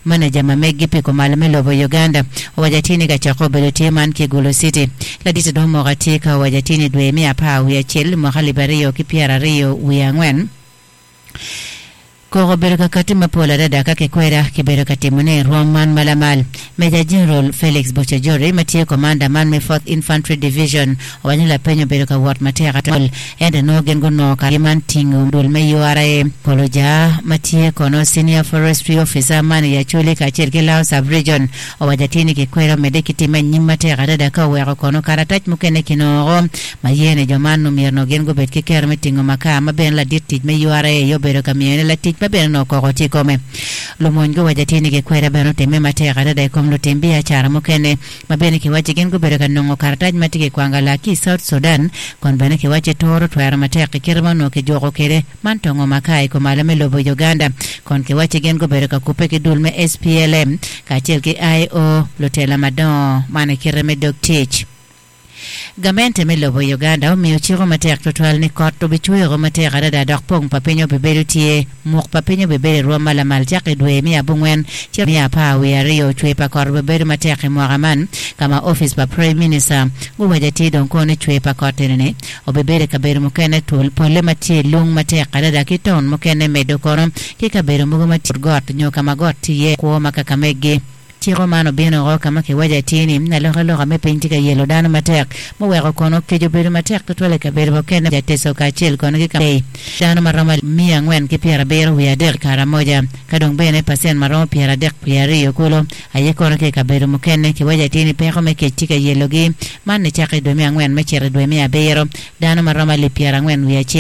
Maneja ma meggi pi kumalo me lobo Uganda owaco atir ni kacokke obedo tye man ki Gulu City. Ladit dong omoko atir ka owaco atir ni dwe me apar wiye acel mwaka alip aryo ki pyeraryo wiye angwen, koko obedo ka kati mapol adada ka kikweda kibedo ka timone i rwom man ma lamal. Major General Felix Buchajori ma tye komanda man me Fourth Infantry Division owaco ni lapeny obedo ka wot matek atwal ento nongo gin gunongo kargi man tingo dul me URA Koloja ma tye kono Senior Forestry Officer man i Acholi kacel ki Lao Sub-Region owaco atir ni kikweda omedde ki timme anyim matek adada ka oweko kono karatac mukene kinongo ma ye ni jo man omyero onongo gin gubed ki kero me tingo makar ma bene ladit tic me URA aye obedo ka miyone latic ma bene onongo koko tye i kome. Lumony guwaco atir ni gikweda bene otimme matek adada i kom lutim biacara mukene ma bene kiwacci gin gubedo ka nongo karatac ma tye ki kwangala ki i South Sudan kun bene kiwacci turo twero matek i kite ma onongo kijuko kwede man tongo makar i kumalo me lobo Uganda kun kiwacci gin gubedo ka kubbe ki dul me SPLM kacel ki IO lutela madongo man i kite me dog tic. Gamente me lobo Uganda omiyo ciko matek tutwal ni kot obicwero matek adada dok pong pa piny obibedo tye. Muk pa piny obibedo i rwom ma lamal cako i dwe me abongwen ci me apar wiye aryo. Cwer pa kot obibedo matek i mwaka man ka ma opic pa Prime Minister guwaco atir dong kono ni cwer pa kot eni-ni obibedo i kabedo mukene twol polle ma tye lung matek adada ki taun mukene medo kono ki kabedo mogo ma tye got nyo ka ma got tye iye kwo ma kaka megi. Ciko man obino woko ka ma kiwaco atir ni alokaloka me piny tye ka yelo dano matek, muweko kono kec obedo matek tutwal i kabedo mukene ja Teso kacel kono ki Kamei. Dano ma romo miya angwen ki pyerabiro wiye adek i Karamoja, ka dong bene pacent ma romo pyeradek wiye aryo kulu aye kono ki i kabedo mukene. Kiwaco atir ni peko me kec tye ka yelogi man nicakke i dwe me angwen me cito i dwe me abiro. Dano ma romo alip pyerangwen wiye acel.